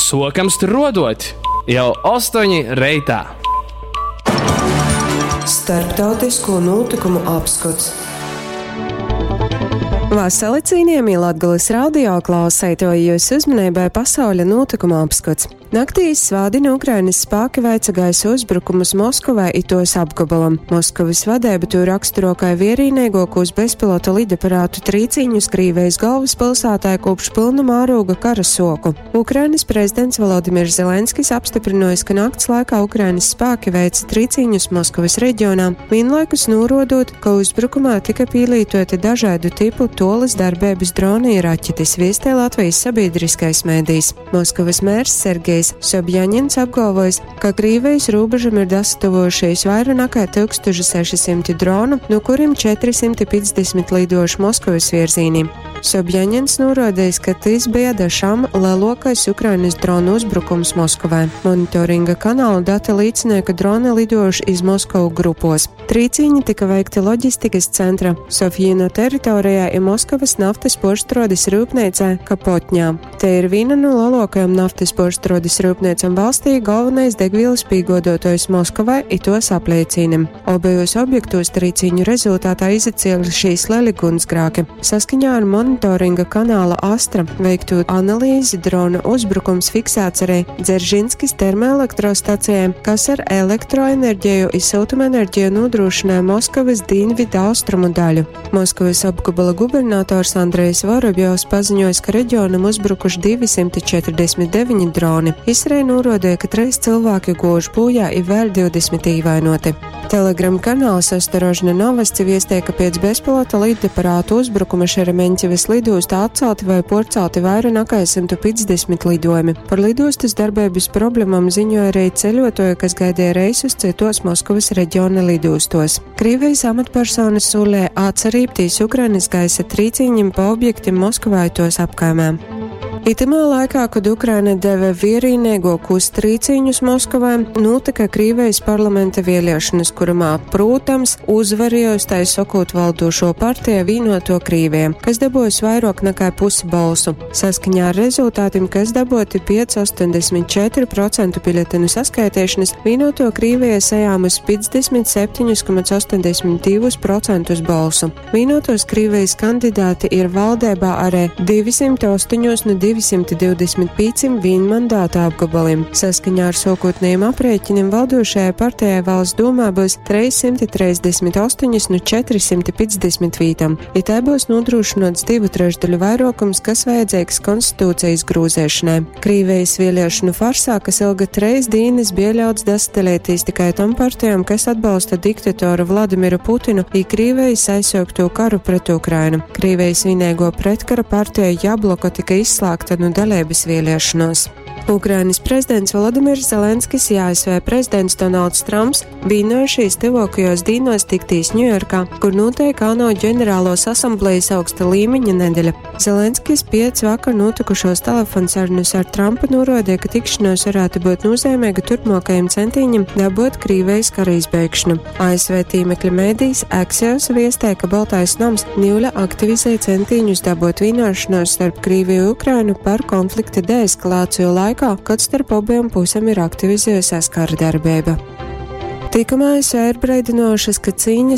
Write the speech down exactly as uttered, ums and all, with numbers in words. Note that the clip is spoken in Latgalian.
Sokam struodot jau ostoņi reitā. Starptautisko notikumu apskots. Vasali cienījamie Latgales radio klausētoji, jūs uzmanībai pasauļa notikuma apskats. Naktī iz svātdini Ukrainas spāki veica gaisa uzbrukumus Moskovai i tos apgabalam. Moskovas vadeiba tū raksturo kai vierīneigokūs bezpilota lidaparātu trīcīņus Krīvijas galvaspilsātai kopš pylna mārūga kara soku. Ukrainas prezidents Volodimirs Zelenskis apstiprinojis, ka nakts laikā Ukrainas spēki veica trīcīņus Moskovas reģionā, vienlaikus norodot, ka uzbrukumā tika pīlītoti dažādu tipu tolas darbības droni i raķetes, viestē Latvijas sabiedriskais mēdījis. Moskovas mērs Sergejs Sobjaņins apgalvojis, ka Krīvijas robežam ir dasatuvojušies vairāk nekā tūkstoš seši simti dronu, no kuriem četri simti piecdesmit lidojuši Moskovas virzīnī. Sobjaņins norādījis, ka tas bija da šam lielākais Ukrainas dronu uzbrukums Moskovai. Monitoringa kanāla dati liecināja, ka droni lidojuši iz Moskovu grupos. Trīcīņi tika veikti loģistikas centra Sofjino teritorijā i Moskovas naftas porštrodes rūpnīcā Kapotņā. Te ir viena no lielākajām naftas porštrodes rūpnīcām valstī, galvenais degvielas pīgodotājs Moskovai i tos apliecīnim. Obejos objektos trīcīņu rezultātā izacēlušies lieli gunsgrāki. Saskaņā ar monitoringa kanāla Astra veikto analīzi drona uzbrukums fiksēts arī Dzeržinskis termoelektrostacijai, kas ar elektroenerģiju i siltumenerģiju nodrošināja Moskavas dienvidu austrumu daļu. Moskavas apgabala gubernators Andrejs Vorobjovs paziņojis, ka reģionam uzbrukuši divi simti četrdesmit deviņi droni. Izsrei norādīja, ka trīs cilvēki gojuši bojā i vēl divdesmit īvainoti. Telegram kanāls Ostorožna Novosti viestē, ka pēc bezpilota lidaparātu uzbrukuma Šeremeņķevas lidostā atcelti vai porcelti vairāk nekā simt piecdesmit lidojumi. Par lidostas darbības problēmām ziņoja arī ceļotoji, kas gaidīja reisus citos Moskavas reģiona lidostos. Krievijas amatpersonas solēja atcerībtīs Ukrainas gaisa trīcīņiem pa objektiem Moskovā tos apkaimē. Itamā laikā, kad Ukraina deve vierīnīgākos trīcīņus Moskovai, notika Krīvijas parlamenta vēlēšanas, kuramā, protams, uzvarējusi tai sakot valdošo partiju Vienoto Krīviju, kas dabūjusi vairāk nekā pusi balsu. Saskaņā ar rezultātiem, kas dabūti pieci astoņdesmit četri procenti biļetenu saskaitīšanas, Vienoto Krīvija sajāmus piecdesmit septiņus komats astoņdesmit divus procentus balsu. Vienotos Krīvijas kandidāti ir valdībā arī divi simti astoņi no divi simti divdesmit pieciem vienmandātu apgabaliem. Saskaņā ar sākotnējiem aprēķiniem valdošajai partijai valsts domā būs trīs simti trīsdesmit astoņas no četri simti piecdesmit vītām, ja tai būs nodrošināts divu trešdaļu vairākums, kas vajadzīgs konstitūcijas grūzēšanai. Krīvijas vēlēšanu farsā, kas ilga treis dīnes, bija ļauts dasadalīties tikai tom partijām, kas atbalsta diktatoru Vladimiru Putinu i Krīvijas aizsākto karu pret Ukrainu. Krīvijas vienīgo pretkara partija Jabloko tika izslēgta no dalības vēlēšanos. Ukrainas prezidents Volodimirs Zelenskis i A S V prezidents Donalds Trumps vienojušies tuvākajos dīnos tiktīs Ņujorkā, kur notiek ANO ģenerālos asamblejas augsta līmeņa nedeļa. Zelenskis piec vakar notikušos telefonsarunus ar Trumpu norādīja, ka tikšanos varētu būt nozīmīga turpmākajiem centīņiem dabūt Krīvijas kara izbeigšanu. A S V tīmekļa mēdījis Axios viestē, ka Baltais nams niule aktivizē centīņus dabūt vienošanos starp Krīviju un Ukrainu par konflikta deeskalāciju laikā, kad starp abiem pusēm ir aktivizējusies kara darbība. Tikamā A S V ir brīdinošas, ka cīņas